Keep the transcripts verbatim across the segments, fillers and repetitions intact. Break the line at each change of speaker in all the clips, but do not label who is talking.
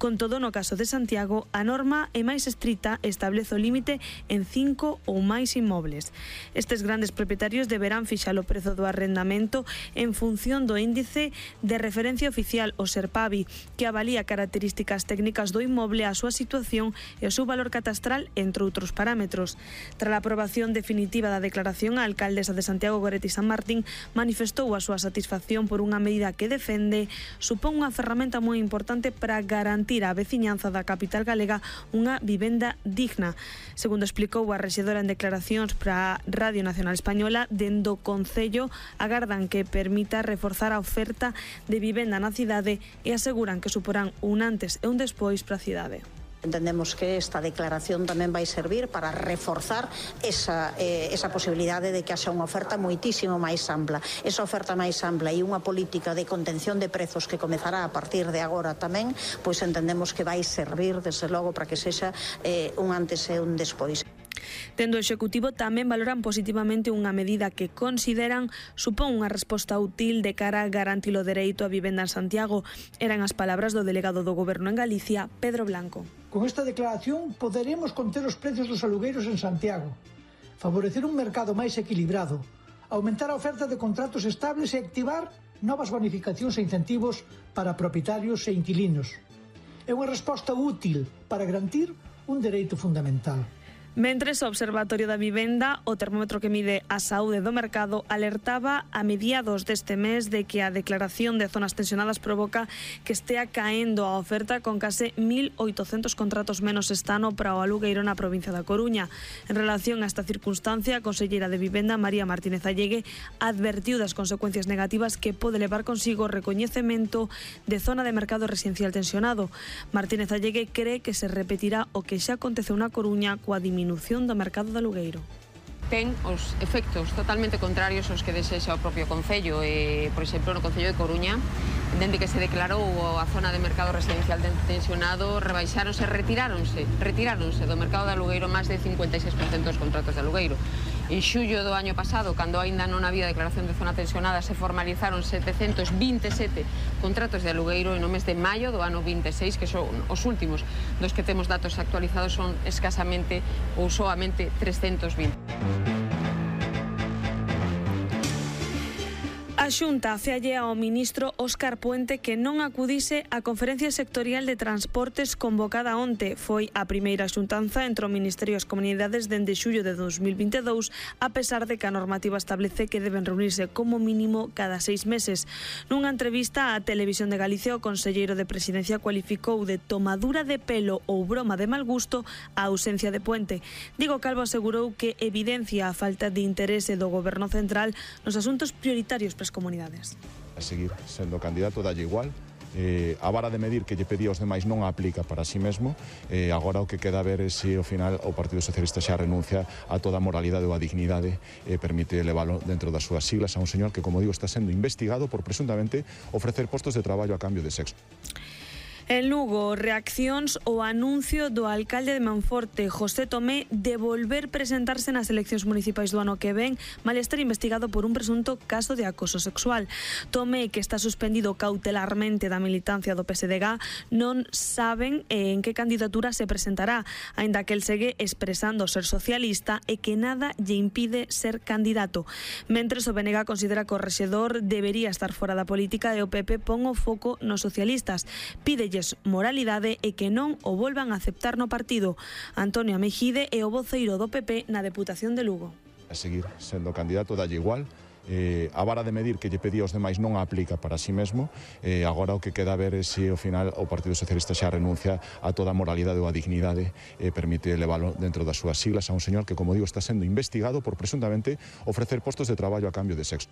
Con todo, no caso de Santiago, a norma é máis estrita e establece o límite en cinco ou máis inmobles. Estes grandes propietarios deberán fixar o prezo do arrendamento en función do índice de referencia oficial, o SERPAVI, que avalía características técnicas do inmoble, a súa situación e o seu valor catastral, entre outros parámetros. Tras a aprobación definitiva da declaración, a alcaldesa de Santiago, Goretti San Martín, manifestou a súa satisfacción por unha medida que defende supón unha ferramenta moi importante para garantir á veciñanza da capital galega unha vivenda digna. Segundo explicou a rexedora en declaracións para a Radio Nacional Española, dende o Concello agardan que permita reforzar a oferta de vivenda na cidade e aseguran que suporán un antes e un despois para a cidade.
Entendemos que esta declaración tamén vai servir para reforzar esa, eh, esa posibilidade de que haxa unha oferta moitísimo máis ampla. Esa oferta máis ampla e unha política de contención de prezos que comezará a partir de agora tamén, pois entendemos que vai servir, desde logo, para que sexa eh, un antes e un despois.
Tendo o Executivo tamén valoran positivamente unha medida que consideran supón unha resposta útil de cara a garantir o dereito a vivenda en Santiago. Eran as palabras do delegado do Goberno en Galicia, Pedro Blanco.
Con esta declaración poderemos conter os prezos dos alugueiros en Santiago, favorecer un mercado máis equilibrado, aumentar a oferta de contratos estables e activar novas bonificacións e incentivos para propietarios e inquilinos. É unha resposta útil para garantir un dereito fundamental.
Mentres, o Observatorio da Vivenda, o termómetro que mide a saúde do mercado, alertaba a mediados deste mes de que a declaración de zonas tensionadas provoca que estea caendo a oferta, con case mil oitocentos contratos menos este ano para o alugueiro na provincia da Coruña. En relación a esta circunstancia, a conselleira de Vivenda, María Martínez Allegue, advertiu das consecuencias negativas que pode levar consigo o recoñecemento de zona de mercado residencial tensionado. Martínez Allegue cree que se repetirá o que xa aconteceu na Coruña coa diminución disminución do mercado de alugueiro.
Ten os efectos totalmente contrarios aos que desexa o propio Concello. E, por exemplo, no Concello de Coruña, dende que se declarou a zona de mercado residencial tensionado, rebaixáronse, retiráronse, retiráronse do mercado de alugueiro máis de cincuenta e seis por cento dos contratos de alugueiro. En xullo do año pasado, cando aínda non había declaración de zona tensionada, se formalizaron setecentos vinte e sete contratos de alugueiro, e no mes de maio do ano vinte e seis, que son os últimos dos que temos datos actualizados, son escasamente ou soamente trescentos vinte.
A Xunta fealle ao ministro Óscar Puente que non acudise á conferencia sectorial de transportes convocada onte. Foi a primeira xuntanza entre o Ministerio e as comunidades dende xullo de dos mil vinte e dous, a pesar de que a normativa establece que deben reunirse como mínimo cada seis meses. Nunha entrevista á Televisión de Galicia, o conselleiro de Presidencia cualificou de tomadura de pelo ou broma de mal gusto a ausencia de Puente. Diego Calvo asegurou que evidencia a falta de interese do Goberno central nos asuntos prioritarios para as comunidades.
A seguir sendo candidato, dalle igual. Eh, a vara de medir que lle pedía aos demais non a aplica para si mesmo. Eh, agora o que queda a ver é se ao final o Partido Socialista xa renuncia a toda a moralidade ou a dignidade e eh, permite leválo dentro das súas siglas a un señor que, como digo, está sendo investigado por presuntamente ofrecer postos de traballo a cambio de sexo.
En Lugo, reaccións ao anuncio do alcalde de Monforte, José Tomé, de volver presentarse nas eleccións municipais do ano que ven, mal estar investigado por un presunto caso de acoso sexual. Tomé, que está suspendido cautelarmente da militancia do P S D G, non saben en que candidatura se presentará, aínda que el segue expresando ser socialista e que nada lle impide ser candidato. Mentres, o B N G considera que o rexedor debería estar fora da política e o P P pon o foco nos socialistas. Pídelle moralidade e que non o volvan a aceptar no partido. Antonio Mejide é o voceiro do P P na Deputación de Lugo.
A seguir sendo candidato, dalle igual. Eh, a vara de medir que lle pedía aos demais non a aplica para si mesmo. Eh, agora o que queda a ver é se ao final o Partido Socialista xa renuncia a toda a moralidade ou a dignidade e eh, permite leválo dentro das súas siglas a un señor que, como digo, está sendo investigado por presuntamente ofrecer postos de traballo a cambio de sexo.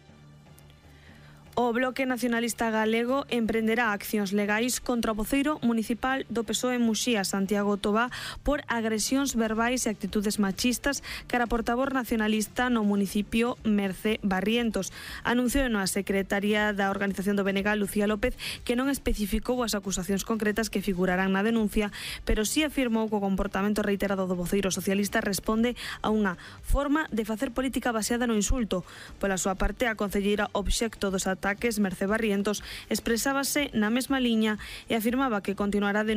O Bloque Nacionalista Galego emprenderá accións legais contra o voceiro municipal do P S O E en Muxía, Santiago Tobá, por agresións verbais e actitudes machistas cara a portavoz nacionalista no municipio, Mercé Barrientos. Anunciou a secretaria da organización do B N G, Lucía López, que non especificou as acusacións concretas que figurarán na denuncia, pero sí afirmou que o comportamento reiterado do voceiro socialista responde a unha forma de facer política baseada no insulto. Pola súa parte, a concelleira obxecto dos ataques, Mercé Barrientos, expresábase na mesma liña e afirmaba que continuará denunciando